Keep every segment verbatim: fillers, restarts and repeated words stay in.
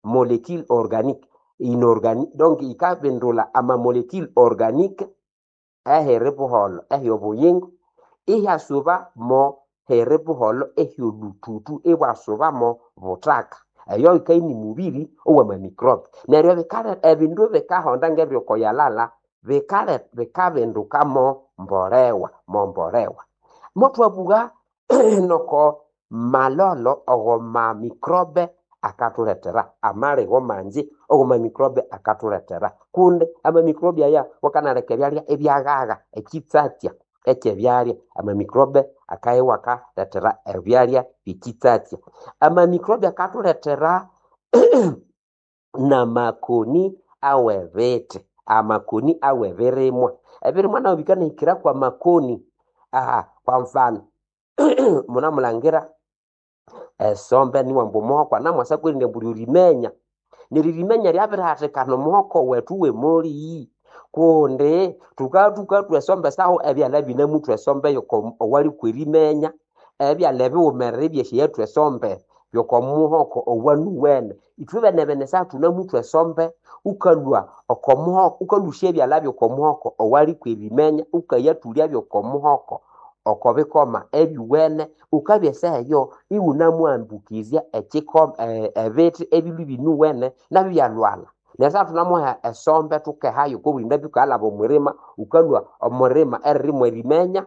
molecule organique inorganique, donc yikabindula ama molecule organique ehiri buholho ehyobuyingo, ihyasuba mo hiri buholho ehyolhuthuthu ibwasuba mo buthaka. Eyo yikabya ini mubiri owa microbe. Neryo bikale ebindu bikahonda ngebyokoyalala bikale bikabinduka mo mbolewa mo mbolewa. Motwabugha noko malolo ogo microbe akathuletera amaligho mangi ogo microbe akathuletera, kundi ama microbe aya wakanaleka ebyalya ibyaghaga ekitsatsya ekyebyalya, ama microbe akabya iwakalethera ebyalya byekitsatsya. Ama microbe akathuletera namakoni awebithi, amakoni awebirimwa. Ebirimwa nabyo bikanahikira kwa makoni. Aha kwa mfano munamulangira esombe niwamba omuhoko anamwasa kwerinde ambu lyorimenya, neryo erimenya lyabirihathikana omuhoko wethu wemoli, kundi thukabya thukathwa esombe sahu ebyalha binamuthwa esombe yoko owalikwa erimenya, ebyalha ebiwumerere ibyasyayathwa esombe yokomuhoko owanuwene. Ithwe benebene esaha thunamuthwa esombe wukalhwa okomuhoko wukalhusya ebyalha byokomuhoko owalikwa erimenya wukayathulya byokomuhoko okobikoma ebyuwene, wukabya esaha eyo iwunamuambukizya ekiko ebithi ebilhwe ibinuwene nabyo ibyalhwalha. Neryo esaha thunamuha esombe thukehayo okobulindambi wukalaba omwirima, wukalhwa omwirima eririmu erimenya,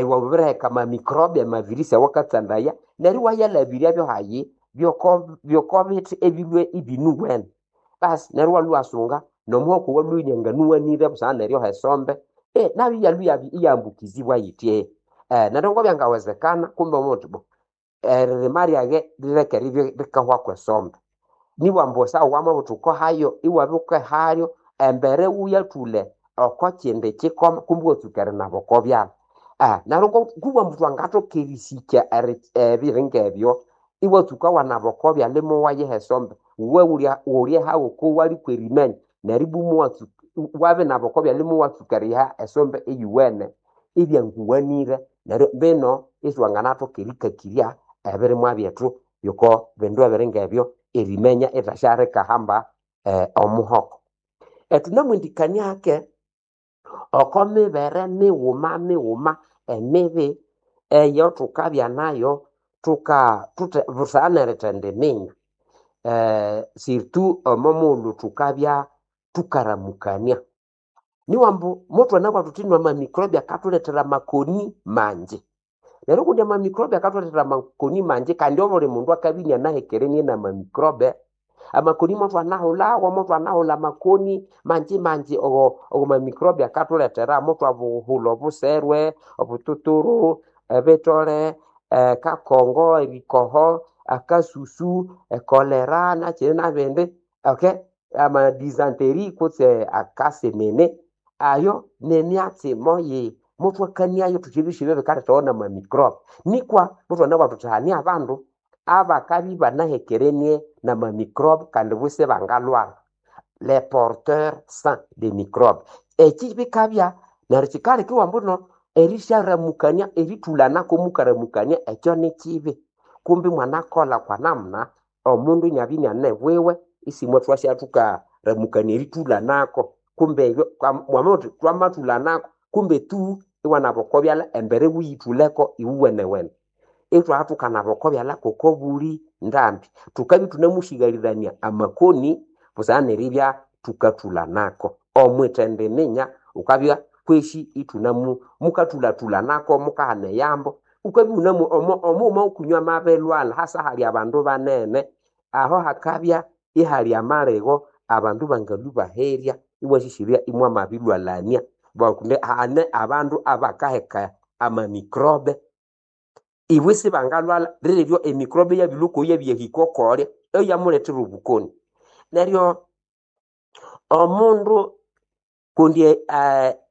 wabiriheka ama microbe amavirisi awakatsandaya, neryo iwayalhabiryabyo hayi byoko byokobithi ebilhwe ibinuwene. Basi neryo iwalhwa iwasunga nomuhoko owalhwe inianganuwanire busana neryoha esombe, nabyo iyalhwa iyambukizibwa yithya. Neryo ngobyangawezekana kumbe wamabugha wuthi bo eririma lyaghe lireke ribye rikahwaku esombe. Nibwa ambu esaha wamabugha wuthi wukahayo iwabya wukahayo embere wuyathule oko kindi kikoma kumbe iwatsuka erinaba oko byalha. Neryo kubwa ambu thwangathoka erisikya ebiringa ebyo, iwatsuka wanaba oko byalha imuwayiha esombe, wuwe wulye hawu okowalikwa erimenya, neryo ibwa muwatsuka wabinaba oko byalha imuwatsuka eriyiha esombe eyuwene ibyanguwanire, neryo bino iswanganathoka erikakirya ebirimwa byethu yoko bindu ebiringa ebyo erimenya ithasyalikahamba omuhoko. Thunamwendikania hake oko mibere mighuma mighuma emibi eyothukabya nayo thuka thuthe busana nerithendiminya, surtout omo mughulhu thukabya thukaramukania. Niwambu mothwanabugha thuthi ino ama microbe akathulethera amakoni mangi. Neryo kundi ama microbe akathulethera amakoni mangi kandi obuli mundu akabya inianahekerenie nama microbe, amakoni mothwanahulhawo mothwanahulha amakoni mangi mangi ogo ogo microbe akathulethera, mothwabuhulha obuserwe, obututuru, ebithole, ekakongo, erikoho, akasusu, ekolera nakyina nabindi, okay ama dysentery kutse akasenene, ayo nemyatsi moyi mothwakaniayo thuthi ebyosi ebyo bikalethawa nama microbe. Nikwa mothwanabugha thuthi hane abandu abakabya ibanahekerenie nama microbe kandi bo isibangalhwalha, les porteurs sains de microbe. Eki bikabya neryo kyikaleka iwambu erisyaramukania erithulanako mukaramukania ekyo nikibi. Kumbi mwanakolha kwa namuna omundu inabya iniane bwiwe isimwathwasya thukaramukania erithulanako, kumbe ebyo mwamabugha wuthi thwamathulanako kumbe tu iwanaba oko byalha embere iwiyithuleko iwuwenewene. Ithwabya thukanaba oko byalha ngokobuli ndambi. Thukabya ithunamusighalirania amakoni busana neribya thukathulanako. Omwithendiminya wukabya kwesi ithunamu mukathulathulanako mukahana eyambo, wukabya iwunamu omughuma wukunywa amabilhwalha hasa hali abandu banene, aho hakabya ihali amaligho abandu bangalhwa ibaherya iwasisirya imwamabilhwalania kundi hane abandu abakaheka ama microbe ibo isibangalhwalha liribyo emicrobe iyabilhwa okoyo iyabyahika okolya eyamulethera obukoni. Neryo omundu kundi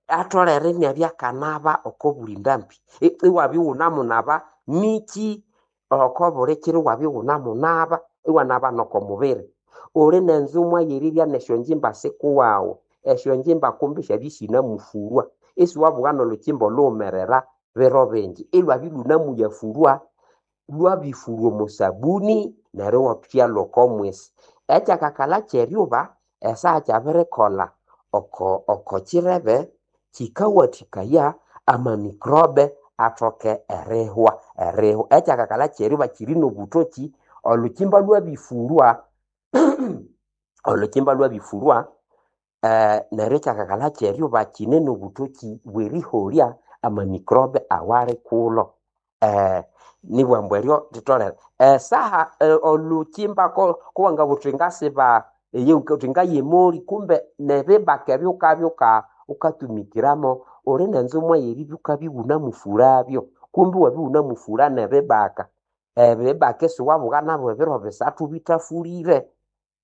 atholere inabya akanaba oko buli ndambi, iwabya iwunamunaba niki oko buli kiro iwabya iwunamunaba, iwanaba noko mubiri. Uli nenzumwa yeribya nesyonjimba sikuwaghu, esyonjimba kumbi syabya isinamufurwa, isiwabugha nolhukyimba olhughumerera biro bingi, ilwabya ilhunemuyafurwa, lwabifurwa omo sabuni neryo iwathya lwoko mwisi. Ekyakakalha ky'eryuba esaha kyabirikolha oko oko kirebe kikawathikaya amamikrobe athoke erihwa erihwa. Ekyakakalha ky'eryuba kiri n'obuthoki olhukimba lwabifurwa olhukimba lwabifurwa eh, neryo ekyakakalha ky'eryuba kine n'obuthoki bw'eriholya amamikrobe awali kulho eh, nibughambu ambu eryo litholere esaha eh, olhukimba ko- kowangabugha uthi ngasiba eyi uthi ngayemoli kumbe nebibaka ebyo wukabya wuka wukatumikiramo uli n'enzumwa y'eribya wukabya iwunamufurabyo kumbe iwabya iwunamufura n'ebibaka ebibaka isiwabugha nabo ebiro bisathu bithafulire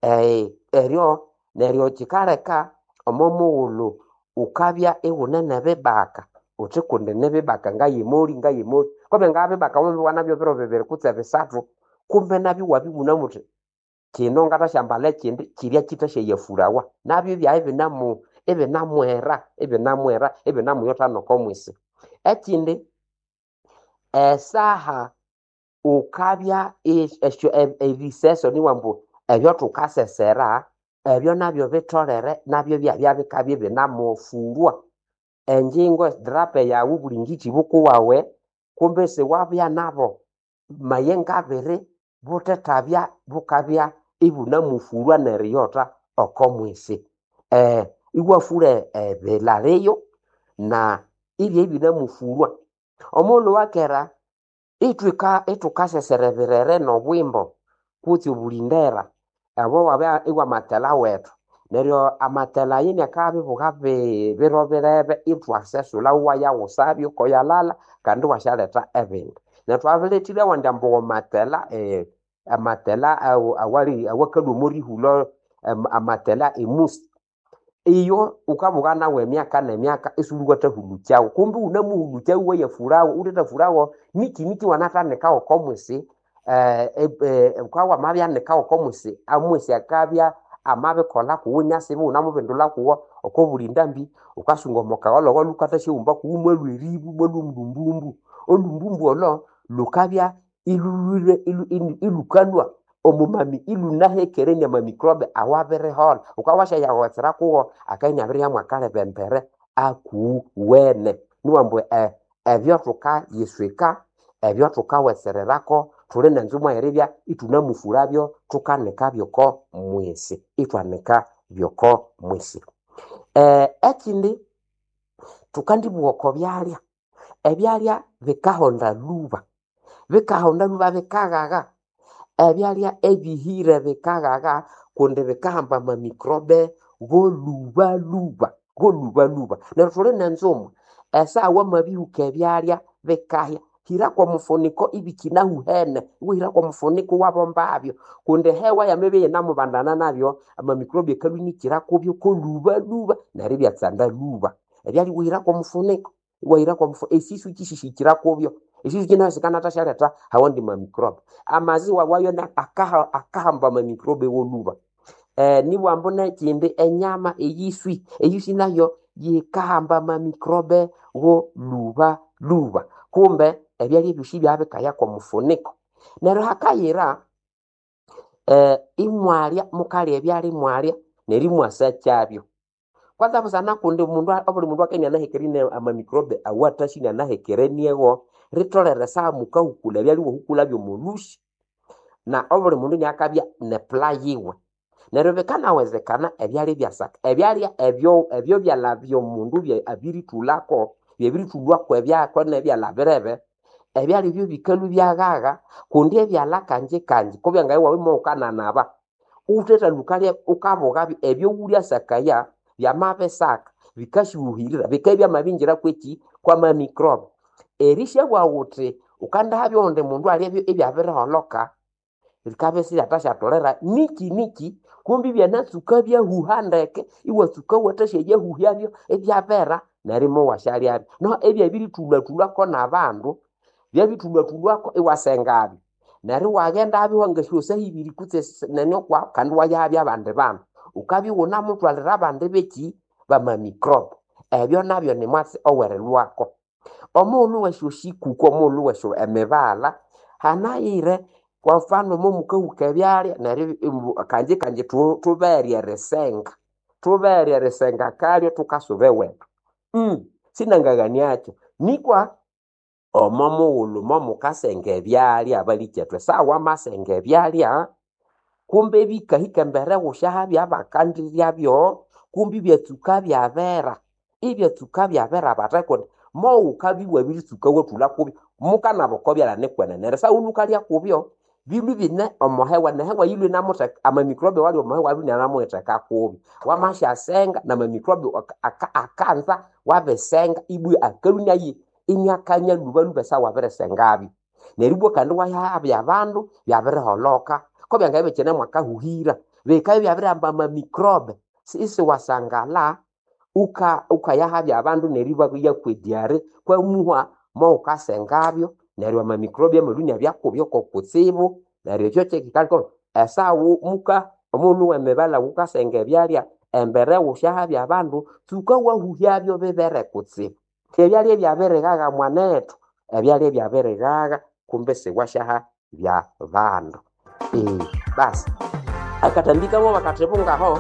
eh, eryo neryo kyikaleka omo mughulhu wukabya iwune n'ebibaka uthi kundi nibibaka ngayemoli ngayemoli kumbe ngabibaka wamabibugha nabyo biro bibiri kutse bisathu kumbe nabyo iwabya iwunamuthi kino ngathashyambalha ekyindi kyirya kyithasyayafurawa nabyo ibyabya ibinamu ibinamwera ibinamwera ibinamuyotha n'oko mwisi. Ekyindi esaha wukabya esyo ebiseso nibugha ambu ebyathukasesera ebyo nabyo bitholere nabyo ibyabya bikabya ibinamufurwa. Engyingo edrape yawu buli ngiti bukuwawe kumbe isiwabya nabo mayenga abiri buthethabya bukabya ibunamufurwa neriyotha oko mwisi. Eh, iwafura ebilaliyo na ibya ibinamufurwa. Omughulhu wakera ithwika ithukasesera ebirere n'obwimbo kutse obulindera abo wabya iwamathela wethu neryo amathela ayo iniakabya bi biro birebe ithwasesulha iwayaghusabyo koyalala kandi iwasyaletha ebindi. Neryo thwabilethire awandi ambu amathela eh, amathela awu- awali awakalhwa omo rihulho amathela emusi iyo wukabugha nawu emyaka n'emyaka isiwulhiwathahulukyawu kumbe iwunamuhulukyawu iwayafurawu wuthethafurawo niki niki iwanathanika oko mwisi eh, eh, wukabya wamabyanika oko mwisi amwisi akabya amabikolha kuwu inasiba iwunamubindulha kuwo oko buli ndambi wukasunga omo kagholho lhukathasyahumba kuwu imwalhwa eribu imwalhwa omulumbumbu. Olumbumbu olo lhukabya ilhulhwire ilhukalhwa omo mami ilhunahekere n'amamikrobe awabiriholha. Wukabya wasyayaghowetsera kuwo akabya inabirihyamu akalebembere akuwene. Nibughambu ambu ebyo thukayiswika ebyo thukawetsererako thuli n'enzumwa y'eribya ithunamufurabyo thukanika by'oko mwisi ithwanika by'oko mwisi. Eh, ekindi thukandibugha oko byalya, ebyalya bikahonda lhuba, bikahonda lhuba bikaghagha. Ebyalya ebihire bikaghagha kundi bikahamba amamikrobe g'olhubalhuba g'olhubalhuba. Neryo thuli n'enzumwa esaha wamabihuka ebyalya bikahya hira kw'omufuniko ibikyinahuhene iwahira kw'omufuniko iwabombabyo kundi ehewa yamabya iyinamubandana nabyo amamikrobe akalhwa inikira kubyo k'olhubalhuba neryo ibyatsanda lhuba. Ebyalya iwahira kw'omufuniko iwahira kw'omufuniko esisu kyisihikira kubyo esisu kinayo sikanathasyalhetha awandi mamikrobe. Amaziwa wayo akaha akahamba amamikrobe w'olhuba. Eh, nibugha ambu n'ekyindi enyama eyiswi, eyiswi nayo yikahamba amamikrobe w'olhubalhuba kumbe ebyalya ebyosi ibyabikaya kw'omufuniko. Neryo hakayira eh, imwalya mukalya ebyalya imwalya neryo imwasakyabyo. Kwanza busana kundi omundu obuli mundu akabya inianahekerenie amamikrobe awathasi inianahekereniewo ritholere esaha mukahukula ebyalya iwahukulabyo omo lhusi na obuli mundu iniakabya n'epula yiwe. Neryo bikanawezekana ebyalya ibyasaka. Ebyalya ebyo ebyo byalha by'omundu abirithulhako byabirithulhwako ebyako n'ebyalha birebe, ebyalya ebyo bikalhwa ibyaghagha kundi ebyalha kanji kanji kubyangabya iwabya imuwukananaba wuthethalhwa wukalya wukabughabyo ebyowulyasakaya byamabisaka bikasyahuhirira bikabya byamabingira kweki kwamamikrobe. Erisyabugha wuthi wukandihabya owundi mundu alyabyo ibyabiriholoka bikabya isibyathasyathulira niki niki kumbe ibyanatsuka byahuha ndeke iwatsuka iwathasyayahuhyabyo ibyabera neryo imuwasyalyabyo. Noho ebyabirithulhathulhwako n'abandu byabithulhathulhwako iwasengabyo neryo iwaghendabyo wangasyosa ibiri kutse nene okwahu kandi iwayahabya abandi bandu. Wukabya iwunamuthwalira abandi beki bamamikrobe. Ebyo nabyo nimwatsi owerilhwako. Omughulhu wesyoshikuku omughulhu wesyo emibaghalha hanayire Kwa mfano momukahuka ebyalya neryo kanji kanji thubere erisenga, thubere erisenga kalyo thukasuba ewethu. Mm, sinangaghaniakyo nikwa omo mughulhu momukasenga ebyalya abalikyethu esawa wamasenga ebyalya kumbe bikahika embere wusyahabya bakandiryabyo kumbe ibyatsuka byabera, ibyatsuka byabera batya kundi mowukabya iwabiritsuka wathulha kubyo mukanaba oko byalya nikwenene neryo esawa wukalya kubyo bilwe ibine omo hewa nehewa yilwe inamutheka amamicrobe awali omo hewa abya inamutheka kubyo. Wamasyasenga namamicrobe akanza wabisenga ibwa akalhwa inayi iniakanya lhubalhuba esawa wabirisengabyo. Neryo ibwa kandi iwayahabya abandu byabiriholoka kobyangabya ibikyine mwakahuhira bikabya ibyabirihamba amamicrobe isiwasangala uka ukayahabya abandu neryo ibabyaku ediare kwamuhwa mowukasengabyo neryo amamicrobe amalhwa inabya kubyo kokutsibu neryo ekyo kyekyikaleka esawa muka omughulhu wemibele wukasenga ebyalya embere wusyahabya abandu tsuka wahuhyabyo bibere kutsibu. Ebyalya ebyabirighagha mwanethu, ebyalya ebyabirighagha kumbe siwasyahabya bandu. Basi akathambi kamwe bakathibungaho,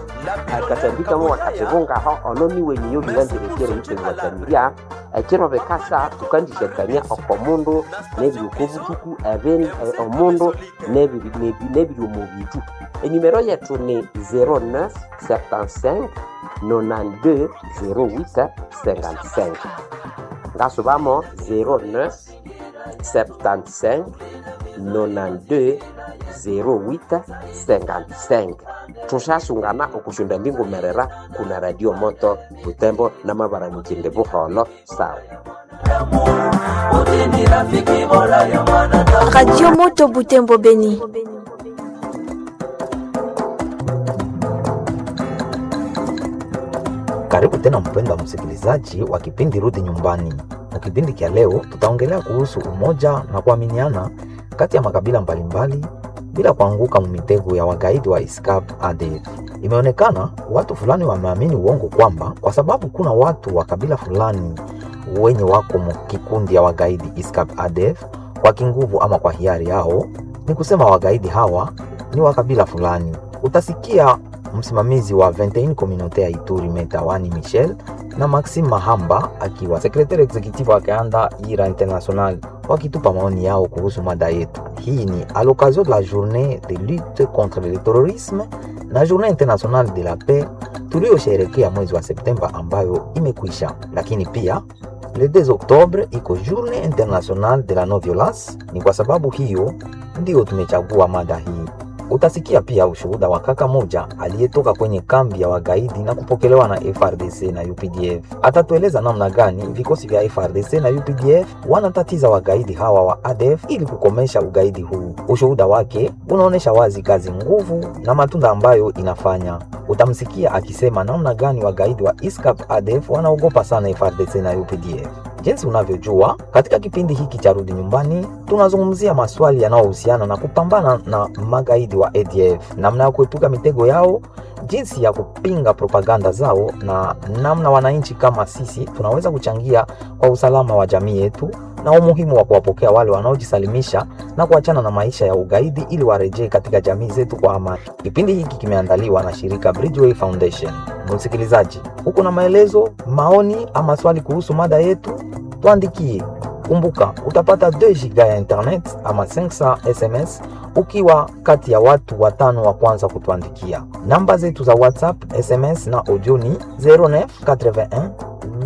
akathambi kamwe bakathibungaho ono niwe niyo biranzire eriyithendwakanirya ekiro bikasa thukandisyakamya oko mundu nebiri oko buthuku ebindi omundu nebiri nebiri omo bithu. Enimero yethu ni zero neuf septante-cinq nonante-deux zero huit cinquante-cinq. Ngasubamo zero neuf septante-cinq nonante-deux zero huit cinquante-cinq. Thusasungana okusyonda mbingumerera kuna Radio Moto Butembo namabara mukindi buholo sawa. Radio Moto Butembo Beni. Karibu tena mpendwa msikilizaji wa kipindi Rudi Nyumbani. Na kipindi cha leo tutaongelea kuhusu umoja na kuaminiana kati ya makabila mbalimbali bila kuanguka mumitego ya wagaidi wa ISCAP A D F. Imeonekana watu fulani wameamini uongo kwamba kwa sababu kuna watu wa kabila fulani wenye wako mkikundi ya wagaidi ISCAP A D F kwa kinguvu ama kwa hiari yao, ni kusema wagaidi hawa ni wa kabila fulani. Utasikia msimamizi wa vingt et une communauté ya Ituri Metawani Michel na Maxime Mahamba akiwa secrétaire executive wa Kaanda Ira International wakitupa maoni yao kuhusu mada yetu. Hii ni à l'occasion de la journée de lutte contre le terrorisme na journée internationale de la paix tuliyosherehekea mwezi wa Septemba ambayo imekwisha, lakini pia le deux octobre iko journée internationale de la non violence. Ni kwa sababu hiyo ndiyo tumechagua mada hii. Utasikia pia ushuhuda wa kaka moja aliyetoka kwenye kambi ya wagaidi na kupokelewa na F R D C na U P D F. Atatueleza namna gani vikosi vya F R D C na U P D F wanatatiza wagaidi hawa wa A D F ili kukomesha ugaidi huu. Ushuhuda wake unaonesha wazi kazi nguvu na matunda ambayo inafanya. Utamsikia akisema namna gani wagaidi wa I S C A P A D F wanaogopa sana F R D C na U P D F. Jinsi unavyojua, katika kipindi hiki cha Rudi Nyumbani tunazungumzia maswali yanayohusiana na kupambana na magaidi wa A D F, namna ya kuepuka mitego yao, jinsi ya kupinga propaganda zao na namna wananchi kama sisi tunaweza kuchangia kwa usalama wa jamii yetu na umuhimu wa kuwapokea wale wanaojisalimisha na kuachana na maisha ya ugaidi ili warejee katika jamii zetu kwa amani. Kipindi hiki kimeandaliwa na shirika Bridgeway Foundation. Msikilizaji, uko na maelezo, maoni ama swali kuhusu mada yetu? Tuandikie. Kumbuka, utapata deux giga ya internet ama cinq cents S M S ukiwa kati ya watu watano wa kwanza kutuandikia. Namba zetu za WhatsApp, S M S na audio ni zero neuf quatre-vingt-un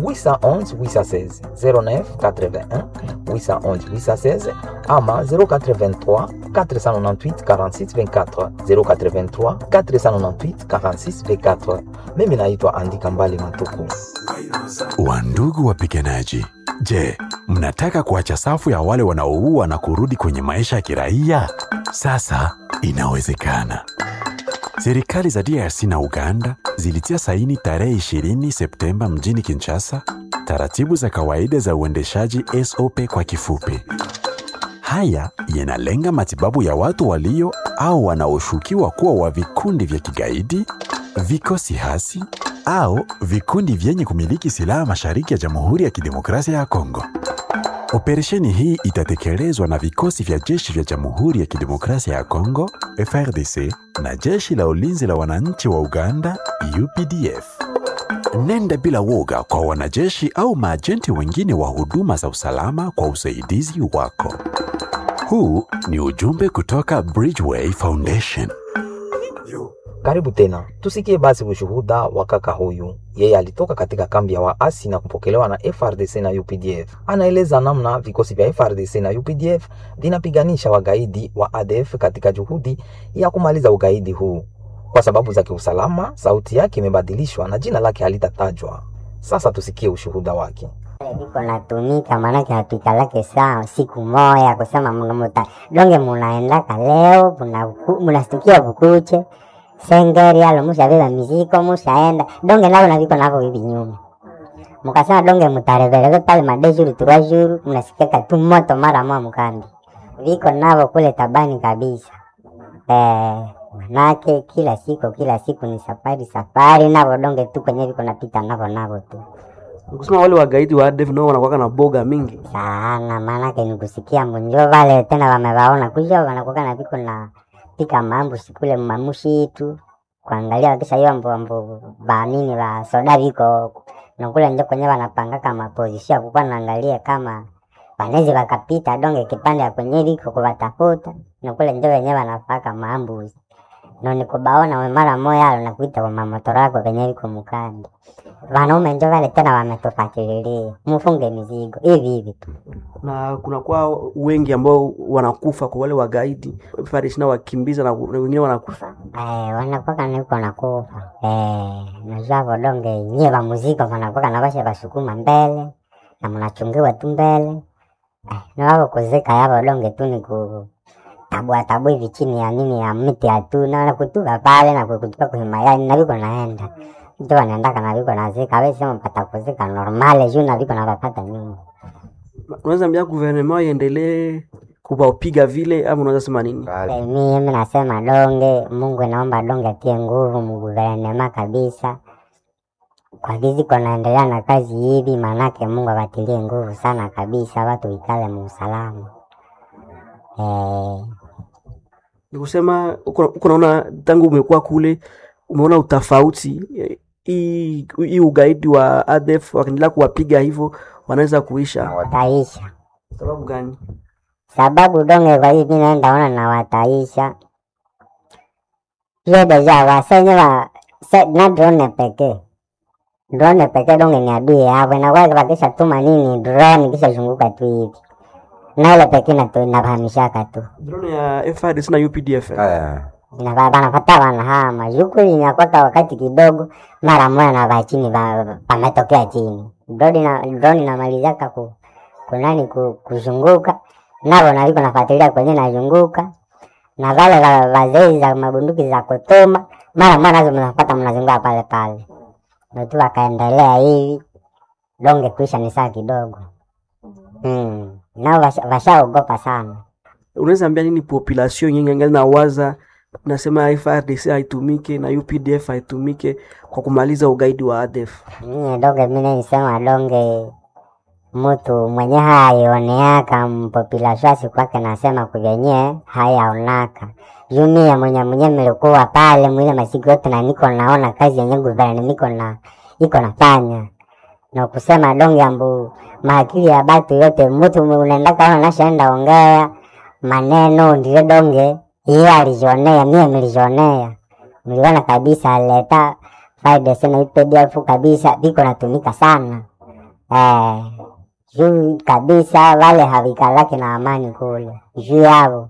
huit cent onze huit cent seize, zero neuf quatre-vingt-un huit cent onze huit cent seize ama zéro quatre-vingt-trois quatre cent quatre-vingt-huit quarante-six vingt-quatre, zéro quatre-vingt-trois quatre cent quatre-vingt-huit quarante-six vingt-quatre. Mimi naitwa Andika Mbali Matuku. Wandugu wapiganaji, je, mnataka kuacha safu ya wale wanaoua na kurudi kwenye maisha ya kiraia? Sasa inawezekana. Serikali za D R C na Uganda zilitia saini tarehe ishirini Septemba mjini Kinshasa taratibu za kawaida za uendeshaji S O P kwa kifupi. Haya yanalenga matibabu ya watu walio au wanaoshukiwa kuwa wa vikundi vya kigaidi, vikosi hasi au vikundi vyenye kumiliki silaha mashariki ya Jamhuri ya Kidemokrasia ya Kongo. Operesheni hii itatekelezwa na vikosi vya jeshi vya Jamhuri ya Kidemokrasia ya Kongo, F R D C, na jeshi la ulinzi la wananchi wa Uganda, U P D F. Nenda bila woga kwa wanajeshi au maajenti wengine wa huduma za usalama kwa usaidizi wako. Huu ni ujumbe kutoka Bridgeway Foundation. Karibu tena, tusikie basi ushuhuda wa kaka huyu. Yeye alitoka katika kambi ya waasi na kupokelewa na F R D C na U P D F. Anaeleza namna vikosi vya F R D C na U P D F vinapiganisha wagaidi wa A D F katika juhudi ya kumaliza ugaidi huu. Kwa sababu za kiusalama, sauti yake imebadilishwa na jina lake halitatajwa. Sasa tusikie ushuhuda wake. Iko natumika maanake hatuikalake saa siku moya kusema mnamuta donge munaendaka leo munastukia bukuche sengeri alo mushabeba miziko mushaenda donge nalo naviko navo hivi nyuma mukasema donge mutarevereve pale madejuru turajuru mnasikeka tu moto mara moja mkambi viko navo kule tabani kabisa eh, manake kila siku kila siku ni safari safari navo donge tu kwenye viko napita navo navo tu Nikusema wale wagaidi wa A D F nao wanakuwa na boga mingi sana, maanake nikusikia munjo vale tena wamewaona kuja wanakuwa na viko na pika mambo sikule mamushi tu kuangalia wakisha hiyo ambo ambo ba nini ba soda viko na kule njo kwenye wanapanga kama position kukuwa naangalia kama wanezi wakapita donge kipande ya kwenye viko kuwatafuta na kule njo wenyewe wanapaka maambuzi no nikubaona we mara moya alo nakuita kwa mamotoro yako venye viko mukandi wanaume njo wale tena wametufatililia mufunge mizigo hivi hivi tu na kunakuwa wengi ambao wanakufa kwa wale wagaidi F R D C na wakimbiza na wengine wanakufa. Eh, wanakuwa niko nakufa eh, najua vodonge nyie wa muziki wanakuwa na basha basukuma mbele na mnachungiwa tu mbele eh, na wao kuzika yavo donge tu ni ku tabua tabua hivi chini ya nini ya mti ya tu na na kutuka pale na kutuka kwenye mayai na viko naenda ndio wanaendaka na viko nazika wewe sema pata kuzika normale juu na viko na wapata nyuma. Unaweza ambia gouvernement iendelee kuwapiga vile ama unaweza sema nini? Eh, mimi nasema donge, Mungu naomba donge atie nguvu mguvernema kabisa. Kwa gizi kunaendelea na kazi hivi, manake Mungu awatilie nguvu sana kabisa, watu ikale muusalama. Eh, Ni kusema uko uko naona tangu umekuwa kule umeona utofauti hii hii ugaidi wa A D F wakiendelea kuwapiga hivyo wanaweza kuisha. Wataisha. Sababu gani? Sababu donge kwa hivi naenda ona na wataisha. Hiyo deja wasenye wa se, na drone pekee. Drone pekee donge ni adui yao. Na kwa wakisha tuma nini drone kisha zunguka tu hivi. Na ile pekee na tu inafahamishaka tu. Drone ya F R D C na U P D F. Eh. Na wanapata wanahama. Yuko inakwaka wakati kidogo mara moja na ba chini ba pametokea chini. Drone na drone inamalizaka ku kunani ku, kuzunguka nabo naliko nafuatilia kwenye nazunguka na wale wa- wazee za mabunduki za kutuma mara mara nazo mnapata mnazunguka pale pale, ndio tu wakaendelea hivi donge kuisha ni saa kidogo mm. Nao washa- washaogopa sana. Unaweza ambia nini population yenye angali na waza nasema F R D C haitumike na U P D F haitumike kwa kumaliza ugaidi wa A D F? Mie donge mimi nisema donge mutu mwenye haioneaka mpopulasio asikwake nasema kuvenye hayaonaka juu mie mwenye mwenye nilikuwa pale mwile masiku yote na niko naona kazi yenye guvernment niko na iko nafanya na kusema donge ambu maakili ya batu yote mutu unaendaka ona nashaenda ongea maneno ndiyo donge iye alijionea mie nilijionea niliona kabisa leta faida sana I P D F kabisa viko natumika sana eh, juu kabisa wale havikalaki na amani kule juu yao,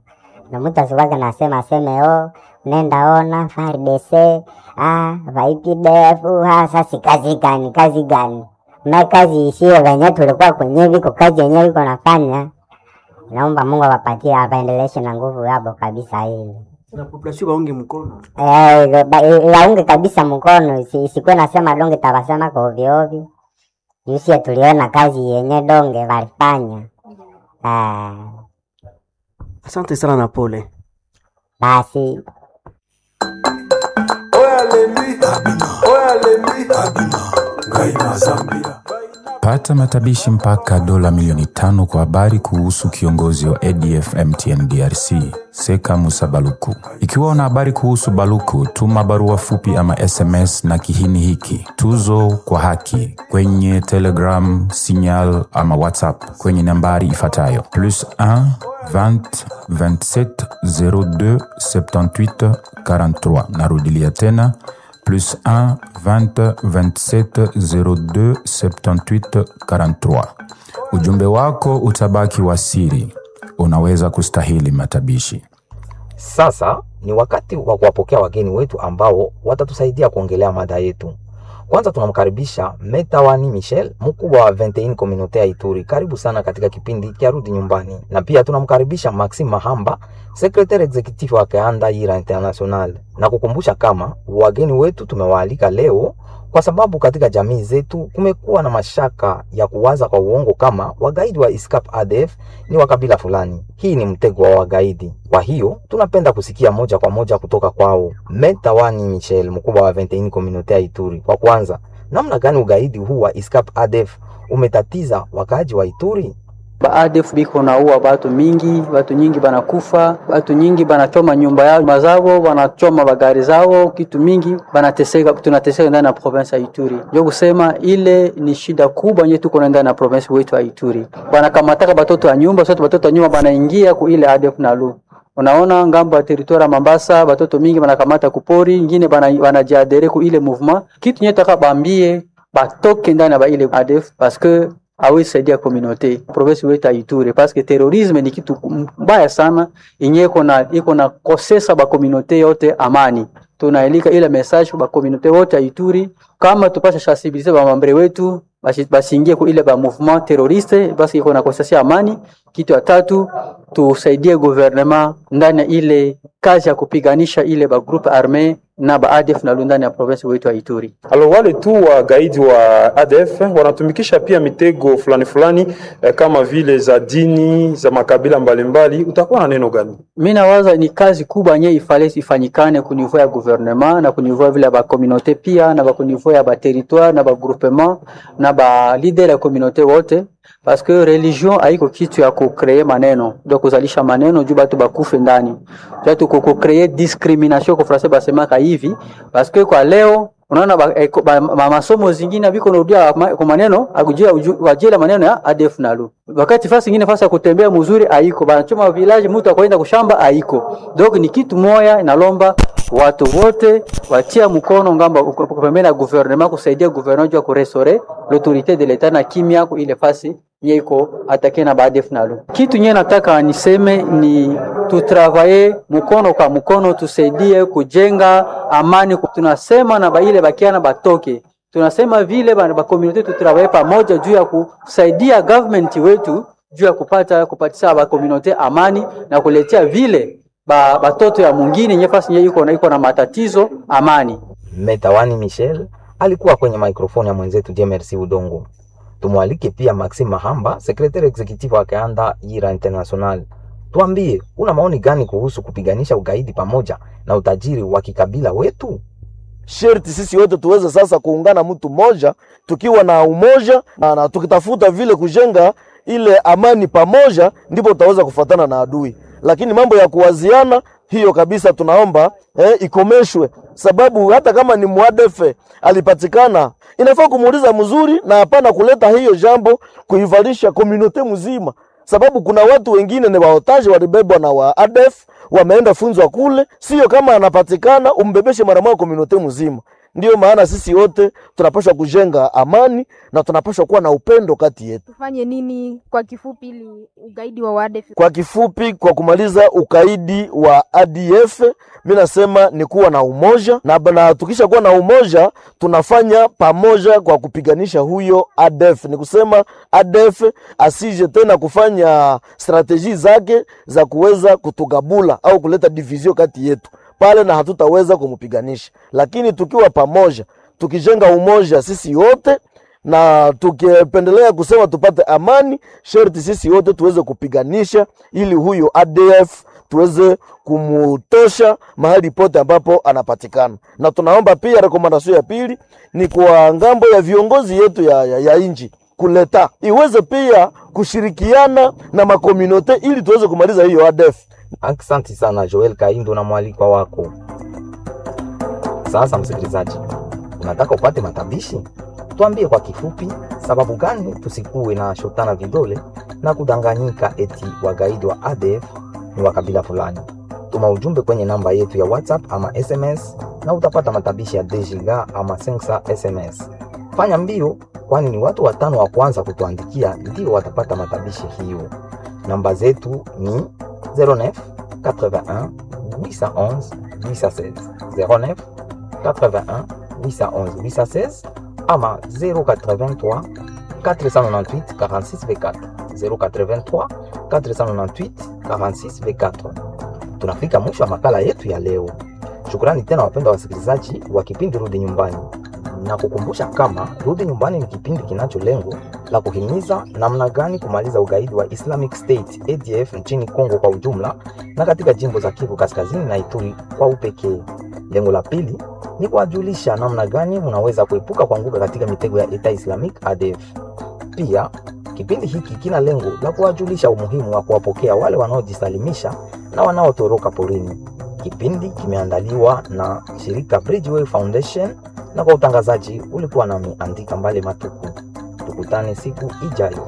na mtu asikwake nasema aseme oh, nenda ona F A R D C ah, va I P D F ah, sasa kazi gani kazi gani na kazi isiyo venye tulikuwa kwenye viko kazi yenyewe iko nafanya. Naomba Mungu awapatie awaendeleshe na nguvu yabo kabisa hili Na population waunge mkono. Eh, ba- waunge kabisa mkono, isi- isikuwe nasema donge tabasema kwa ovyo ovyo. Jusi tuliona kazi yenye donge walifanya. Eh, Asante sana na pole. basi Pata matabishi mpaka dola milioni tano kwa habari kuhusu kiongozi wa A D F M T N D R C Seka Musa Baluku. Ikiwa una habari kuhusu Baluku, tuma barua fupi ama S M S na kihini hiki tuzo kwa haki kwenye Telegram, Signal ama WhatsApp kwenye nambari ifuatayo plus un vingt vingt-sept zéro deux soixante-dix-huit quarante-trois. Narudilia tena plus un vingt vingt-sept zéro deux soixante-dix-huit quarante-trois. Ujumbe wako utabaki wa siri. Unaweza kustahili matabishi. Sasa ni wakati wa kuwapokea wageni wetu ambao watatusaidia kuongelea mada yetu. Kwanza tunamkaribisha Metawani Michel, mkubwa wa vingt et une Communauté ya Ituri. Karibu sana katika kipindi cha Rudi Nyumbani. Na pia tunamkaribisha Maxime Mahamba, secrétaire exécutif wa Kaanda Yira International. Na kukumbusha kama wageni wetu tumewaalika leo kwa sababu katika jamii zetu kumekuwa na mashaka ya kuwaza kwa uongo kama wagaidi wa ISCAP A D F ni wa kabila fulani. Hii ni mtego wa wagaidi. Kwa hiyo tunapenda kusikia moja kwa moja kutoka kwao. Metawani Michel, mkubwa wa vingt et une Communauté ya Ituri. Kwa kwanza, namna gani ugaidi huu wa ISCAP A D F umetatiza wakaaji wa Ituri? Ba A D F biko naua batu mingi, batu nyingi banakufa, batu nyingi banachoma nyumba yao mazao, banachoma bagari zao, kitu mingi banateseka, tunateseka ndani ya province ya Ituri. Ndio kusema ile ni shida kubwa yenye tuko ndani ya province wetu ya Ituri. Banakamataka batoto ya nyumba, sote batoto ya nyumba banaingia ku ile A D F nalu. Unaona ngambo ya territoire ya Mambasa batoto mingi banakamata kupori, ingine bana banajiadere ku ile mouvement. Kitu nye taka bambie batoke ndani ya ba ile A D F parce que hawezi saidia communauté province wetu ya Ituri parce que terrorisme ni kitu mbaya sana yenye iko na iko na kosesa ba communauté yote amani. Tunaelika ile message ba communauté wote ya Ituri kama tupasha sensibiliser ba mambre wetu basi basiingie ku ile ba mouvement terroriste basi iko na kosesa amani. Kitu ya tatu tusaidie gouvernement ndani ya ile kazi ya kupiganisha ile ba groupe armé na ba A D F na ndani ya province wetu ya Ituri. Alo, wale tu wa gaidi wa A D F wanatumikisha pia mitego fulani fulani eh, kama vile za dini za makabila mbalimbali. Utakuwa na neno gani? Mimi nawaza ni kazi kubwa yenye ifale ifanyikane ku niveau ya gouvernement na ku niveau vile ba communauté pia na ba ku niveau ya ba territoire na ba groupement na ba leader ya communauté wote, parce que religion haiko kitu ya kucreer maneno, ndio kuzalisha maneno juu batu bakufe ndani. Juu tu kucreer discrimination kwa français basemaka hivi, parce que kwa leo unaona ba, eh, ba, ma, masomo zingine biko narudia ma, kwa maneno akujia wajela maneno ya A D F nalu. Wakati fasi nyingine fasi ya kutembea mzuri haiko, banachoma village mtu akwenda kushamba haiko. Donc ni kitu moya inalomba watu wote watia mkono ngamba pembeni na gouvernement kusaidia gouvernement juu ya kurestaurer l'autorité de l'etat na kimya ku ile fasi yeko atake na ba A D F nalu. Kitu nye nataka niseme ni tutravaye mkono kwa mkono, tusaidie kujenga amani. Tunasema na ba ile bakiana batoke, tunasema vile ba, ba community tutravaye pamoja juu ya kusaidia government wetu juu ya kupata kupatisa ba community amani na kuletea vile ba batoto ya mwingine nyefasi nye iko na iko na matatizo amani. Metawani Michel alikuwa kwenye mikrofoni ya mwenzetu Jemersi Udongo. Tumwalike pia Maxime Mahamba, secrétaire exécutif wa Kaanda Yira International. Tuambie, una maoni gani kuhusu kupiganisha ugaidi pamoja na utajiri wa kikabila wetu? Sherti sisi wote tuweze sasa kuungana mtu mmoja, tukiwa na umoja na, na tukitafuta vile kujenga ile amani pamoja, ndipo tutaweza kufuatana na adui. Lakini mambo ya kuwaziana hiyo kabisa tunaomba eh, ikomeshwe, sababu hata kama ni mwadefe alipatikana, inafaa kumuuliza mzuri na hapana kuleta hiyo jambo kuivalisha community mzima, sababu kuna watu wengine ni waotaji walibebwa na wa A D F wameenda funzwa kule, sio kama anapatikana umbebeshe mara moja community mzima. Ndiyo maana sisi wote tunapaswa kujenga amani na tunapaswa kuwa na upendo kati yetu. Tufanye nini kwa kifupi ili ugaidi wa A D F? Kwa kifupi, kwa kumaliza ugaidi wa A D F, mimi nasema ni kuwa na umoja na, na tukisha kuwa na umoja tunafanya pamoja kwa kupiganisha huyo A D F. Ni kusema A D F asije tena kufanya strateji zake za kuweza kutugabula au kuleta division kati yetu pale, na hatutaweza kumupiganisha. Lakini tukiwa pamoja, tukijenga umoja sisi wote na tukipendelea kusema tupate amani, sherti sisi wote tuweze kupiganisha ili huyo A D F tuweze kumutosha mahali pote ambapo anapatikana. Na tunaomba pia rekomandasio ya pili ni kwa ngambo ya viongozi yetu ya, ya, ya inchi. kuleta iweze pia kushirikiana na macommunauté ili tuweze kumaliza hiyo A D F. Asante sana Joel Kaindo na mwalikwa wako. Sasa msikilizaji, unataka upate matabishi? Tuambie kwa kifupi, sababu gani tusikuwe na shotana vidole na kudanganyika eti wagaidi wa A D F ni wa kabila fulani? Tuma ujumbe kwenye namba yetu ya WhatsApp ama S M S na utapata matabishi ya Dejiga ama Sensa S M S. Fanya mbio, kwani ni watu watano wa kwanza kutuandikia ndio watapata matabishi hiyo. Namba zetu ni zéro neuf quatre-vingt-un huit cent onze huit cent seize, zéro neuf quatre-vingt-un huit cent onze huit cent seize ama zéro quatre-vingt-trois quatre cent quatre-vingt-dix-huit quarante-six vingt-quatre, zéro quatre-vingt-trois quatre cent quatre-vingt-dix-huit quarante-six vingt-quatre. Tunafika mwisho wa makala yetu ya leo. Shukrani tena wapendwa wasikilizaji wa kipindi Rudi Nyumbani, na kukumbusha kama Rudi Nyumbani ni kipindi kinacho lengo la kuhimiza namna gani kumaliza ugaidi wa Islamic State A D F nchini Kongo kwa ujumla na katika jimbo za Kivu Kaskazini na Ituri kwa upekee. Lengo la pili ni kuwajulisha namna gani mnaweza kuepuka kuanguka katika mitego ya Eta Islamic A D F. Pia kipindi hiki kina lengo la kuwajulisha umuhimu wa kuwapokea wale wanaojisalimisha na wanaotoroka porini. Kipindi kimeandaliwa na shirika Bridgeway Foundation na kwa utangazaji ulikuwa nami Andika Mbale Matuku. Tukutane siku ijayo.